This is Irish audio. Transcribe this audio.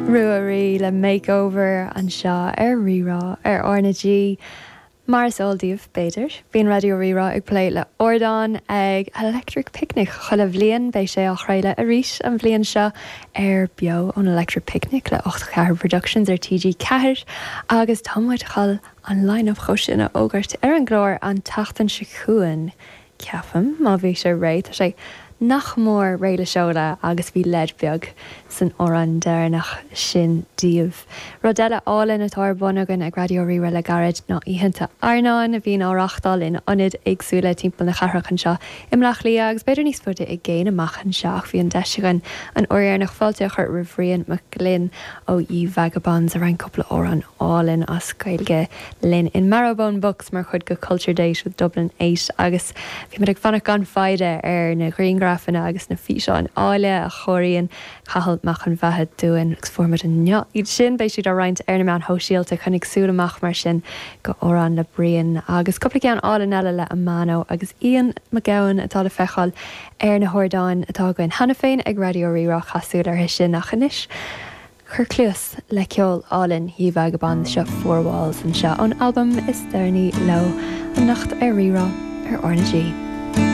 Ruairí le Makeover anseo ar Rí-Rá ar R na G. Mar is eol daoibh, b'fhéidir, bíonn Raidió Rí-Rá ag plé le ardán ag Electric Picnic chuile bhliain. Beidh sé á chraoladh arís an bhliain seo ar Beo ón Electric Picnic le 8 4 Productions ar TG4 agus tá muid chun an line-up dhó sin a fhógairt ar an gclár an tseachtain seo chugainn. Ceapaim, má bhí sé réidh, tá sé nach mór réidh le seoladh agus bhí leid beag san amhrán deireanach sin daoibh. Rud eile álainn atá ar bun againn ag Raidió Rí-Rá le gairid ná oícheanta airneáin a bhíonn á reáchtáil in ionaid éagsúla timpeall na cathrach anseo i mBleá Cliath agus b'fhéidir níos faide i gcéin amach anseo ach bhí an deis againn an uair dheireanach fáilte a chur roimh Bhrian Mac Gloinn ó Ye Vagabonds a roinn cúpla amhrán álainn as Gaeilge linn in Marrowbone Books mar chuid de Culture Date with Dublin 8 agus bhí muid ag fanacht gan foighde ar na grianghrafanna agus na físeáin áille a chóiríonn Cathal Mac an Bheatha dúinn agus fuair muid inniu iad sin. Beidh siad á roinnt ar na meáin shóisialta. Coinnigh súil amach mar sin go amhrán le Brian agus cúpla ceann álainn eile le Amano agus Ian McGowan atá le feiceáil ar na hardáin atá againn cheana féin ag Raidió Rí-Rá. Caith súil orthu sin ach anois Cuir cluas le ceol álainn Ye Vagabonds, seo Four Walls anseo ón albam is deireanaí leo anocht ar Rí-Rá ar R na G.